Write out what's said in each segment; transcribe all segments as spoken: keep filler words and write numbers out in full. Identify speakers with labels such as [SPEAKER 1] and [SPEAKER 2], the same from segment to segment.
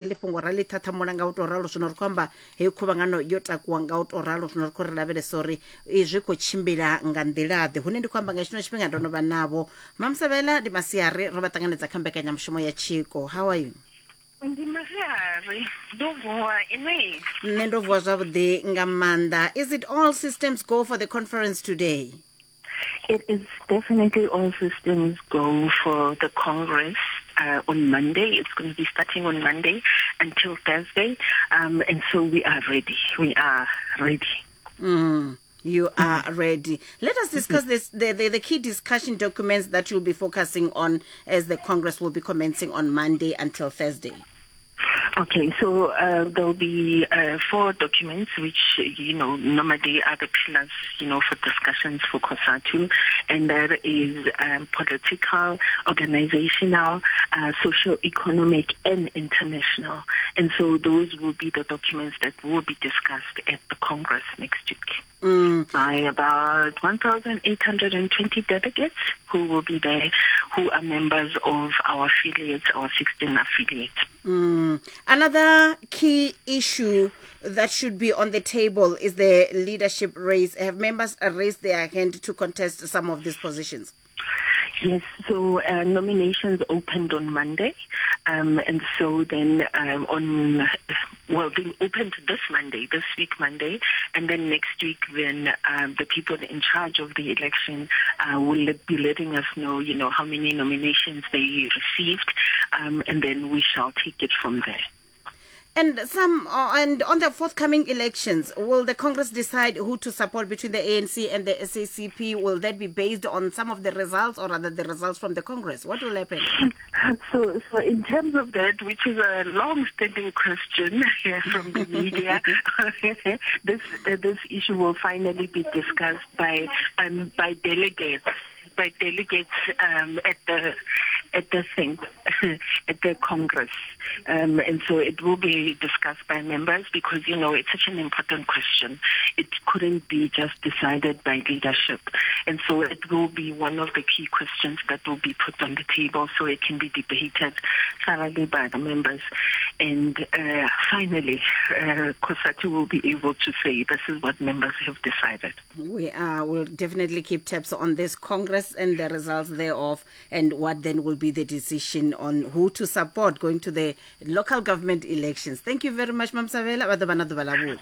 [SPEAKER 1] Ḽi fhungo ra ḽi ṱhaṱhamula nga u tou ralo. Zwino ri khou amba heyi khuvhangano yo takuwa nga u tou ralo. Zwino ri khou ri lavhelesa uri izwi khou tshimbila nga nḓila ḓe. Hune ndi khou amba nga tshino tshifhinga ndo no vha navho Mamsabela, ndi masiari, ro vha ṱanganedza kha mbekanyamushumo ya Tshiko. How are you?
[SPEAKER 2] Ndi masiari, ndo vuwa, inwi?
[SPEAKER 1] Nṋe ndo vuwa zwavhuḓi nga maanḓa. Is it all systems go for the conference today?
[SPEAKER 2] It is definitely all systems go for the Congress uh, on Monday. It's going to be starting on Monday until Thursday. Um, and so we are ready. We are ready.
[SPEAKER 1] Mm. You are ready. Let us discuss this, the, the, the key discussion documents that you'll be focusing on as the Congress will be commencing on Monday until Thursday.
[SPEAKER 2] Okay, so uh, there'll be uh, four documents which, you know, normally are the pillars, you know, for discussions for COSATU, and that is um, political, organizational, uh, socio-economic, and international. And so those will be the documents that will be discussed at the Congress next week.
[SPEAKER 1] Mm.
[SPEAKER 2] By about one thousand eight hundred twenty delegates who will be there, who are members of our affiliates, our sixteen affiliates.
[SPEAKER 1] Mm. Another key issue that should be on the table is the leadership race. Have members raised their hand to contest some of these positions?
[SPEAKER 2] Yes, so uh, nominations opened on Monday, um, and so then um, on, well, they opened this Monday, this week Monday, and then next week then um, the people in charge of the election uh, will be letting us know, you know, how many nominations they received, um, and then we shall take it from there.
[SPEAKER 1] And some, uh, and on the forthcoming elections, will the Congress decide who to support between the A N C and the S A C P? Will that be based on some of the results, or rather the results from the Congress? What will happen?
[SPEAKER 2] So, so in terms of that, which is a long-standing question here from the media, this, uh, this issue will finally be discussed by, um, by delegates. By delegates um, at the at the thing at the Congress, um, and so it will be discussed by members because, you know, it's such an important question. It couldn't be just decided by leadership, and so it will be one of the key questions that will be put on the table so it can be debated thoroughly by the members. And uh, finally, uh, COSATU will be able to say this is what members have decided.
[SPEAKER 1] We are, will definitely keep tabs on this Congress and the results thereof, and what then will be the decision on who to support going to the local government elections. Thank you very much, Mamsabela. Vha ḓo vha na ḓuvha ḽa vhuḓi.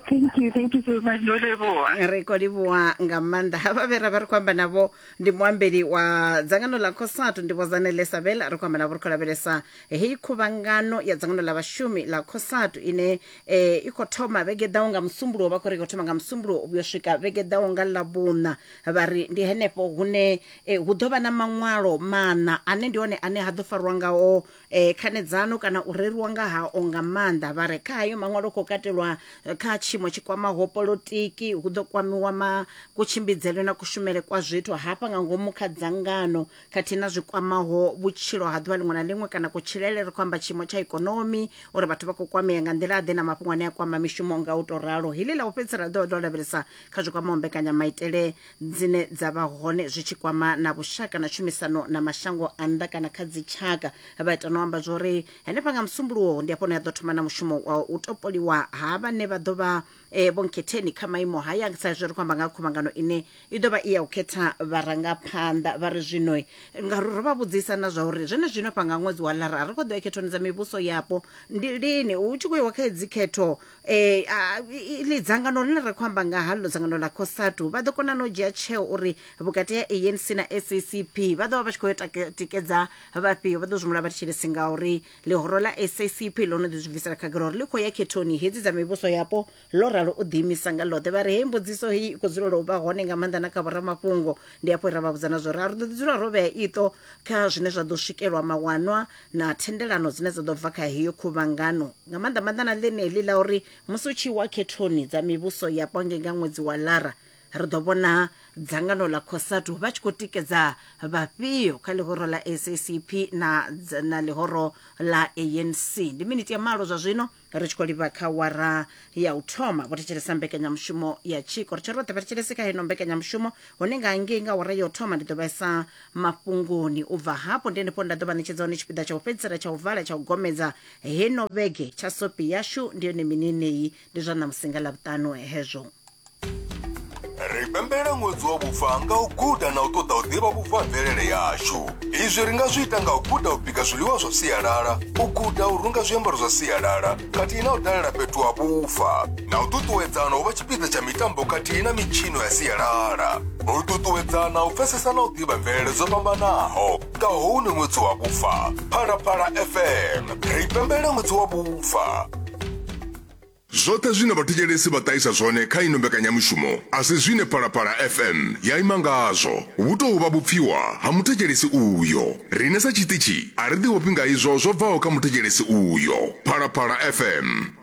[SPEAKER 2] Thank you, thank you so much. Ndo livhuwa.
[SPEAKER 1] Ri khou livhuwa nga maanḓa. Havha vhe ra vha ri khou amba navho ndi muambeli wa dzangano ḽa COSATU, ndi Vho Zanele Sabela. Ri khou amba navho ri khou lavhelesa heyi khuvhangano ya dzangano ḽa vhashumi ḽa COSATU ine eh, i khou thoma vhege ḓaho nga Musumbuluwo. Vha khou ri i khou thoma nga Musumbuluwo u vhuya swika vhege ḓaho nga Ḽavhuṋa. Vha ri ndi henefho hune eh, hu ḓo vha na maṅwalo maṋa ane ndi one ane ha ḓo farwa ngao eh, khanedzano kana u reriwa nga hao nga maanḓa. Vha re kha hayo maṅwalo khou katelwa kha tshiimo tshi kwamaho polotiki, hu ḓo kwamiwa ma kutshimbidzele na kushumele kwa zwithu hafha nga ngomu kha dzangano, khathihi na zwi kwamaho vhutshilo ha ḓuvha ḽiṅwe na ḽiṅwe kana kutshilele. Ri khou amba tshiimo tsha ikonomi, uri vhathu vha khou kwamea nga nḓila ḓe, na mafhungo ane a kwama mishumo nga u tou ralo. Heḽi ḽa u fhedzisela ḓo ḓo lavhelesa kha zwi kwamaho mbekanyamaitele dzine dza vha hone zwi tshi kwama na vhushaka na tshumisano na mashango a nnḓa kana kha dzitshaka. Vha ita no amba zwori henefha nga Musumbuluwo ndi hafho hune ha ḓo thoma na mushumo wa u topoliwa ha vhane vha ḓo vha eh, vho nkhetheni kha maimo haya, sa izwi ri khou amba nga khuvhangano ine i ḓo vha i ya u khetha vharangaphanḓa. Vha ri zwino ngauri ro vha vhudzisa na zwa uri zwene zwino fha nga ṅwedzi wa Lara ri khou ḓo ya khethoni dza mivhuso yapo, ndi lini hu tshi khou iwa kha hedzi khetho eh, iḽi dzangano ḽine ra khou amba nga haḽo, dzangano ḽa COSATU, vha ḓo kona no dzhia tsheo uri vhukati ha A N C na S A C P vha ḓo vha vha tshi khou yo tikedza vhafhio. Vha ḓo zwi vha thetshelesi ngauri ḽihoro ḽa S A C P ḽo no ḓi zwi bvisela khagala uri ḽi khou ya khethoni hedzi dza mivhuso yapo, ḽo ralo u ḓiimisa nga ḽoṱhe. Vha ri hei mbudziso heyi i khou dzulela u vha hone nga maanḓa na kha vhoramafhungo. Ndi hafho ra vha vhudza na zwo ri a ri ḓo ḓi dzula ro vhea iṱo kha zwine zwa ḓo swikelwa mawanwa na thendelano dzine dza ḓo bva kha heyo khuvhangano, nga maanḓa maanḓa na ḽeneḽi ḽa uri musi u tshi wa khethoni dza mivhuso yapo ngei nga ṅwedzi wa Lara Ri ḓo vhona dzangano ḽa COSATU vha tshi khou tikedza vhafhio kha ḽihoro ḽa S A C P na, na ḽihoro ḽa A N C. Ndi miniti ya malo zwa zwino ri tshi khou livha kha wara ya u thoma. Vho thetshelesa mbekanyamushumo ya Tshiko. Ri tshi roṱhe vha thetshelese kha heno mbekanyamushumo, hone nga ngei nga wara ya u thoma ndi ḓo vhaisa mafhungoni. U bva hafho ndi henefho nda ḓo vha ṋetshedza hone tshipiḓa tsha u fhedzisela tsha u vala tsha u gomedza heno vhege tsha sopi yashu. Ndi yone minenei, ndi zwa ṋamusi nga Ḽavhuṱanu hezwo.
[SPEAKER 3] Ri pembela ṅwedzi wa vhufa nga u guda na u ṱoḓa u ḓivha vhufa mvelele yashu. Izwi ri nga zwi ita nga u guda u bika zwiḽiwa zwa sialala, u guda u runga zwiambaro zwa sialala, khathihi na u dalela fhethu ha vhufa, na u ṱuṱuwedzana u vha tshipiḓa tsha mitambo khathihi na mitshino ya sialala. U ṱuṱuwedzana u pfesesa na u ḓivha mvelele dzo fhambanaho nga hounu ṅwedzi wa vhufa. Phalaphala F M, ri pembela ṅwedzi wa vhufa. Zwoṱhe zwine vhathetshelesi vha ṱahisa zwone kha ino mbekanyamushumo a si zwine Phalaphala F M ya ima ngazwo. Vhu tou vha vhupfiwa ha muthetshelesi uyo. Riṋe sa tshiṱitshi a ri ḓivhofhi nga izwo zwo bvaho kha muthetshelesi uyo. Phalaphala F M.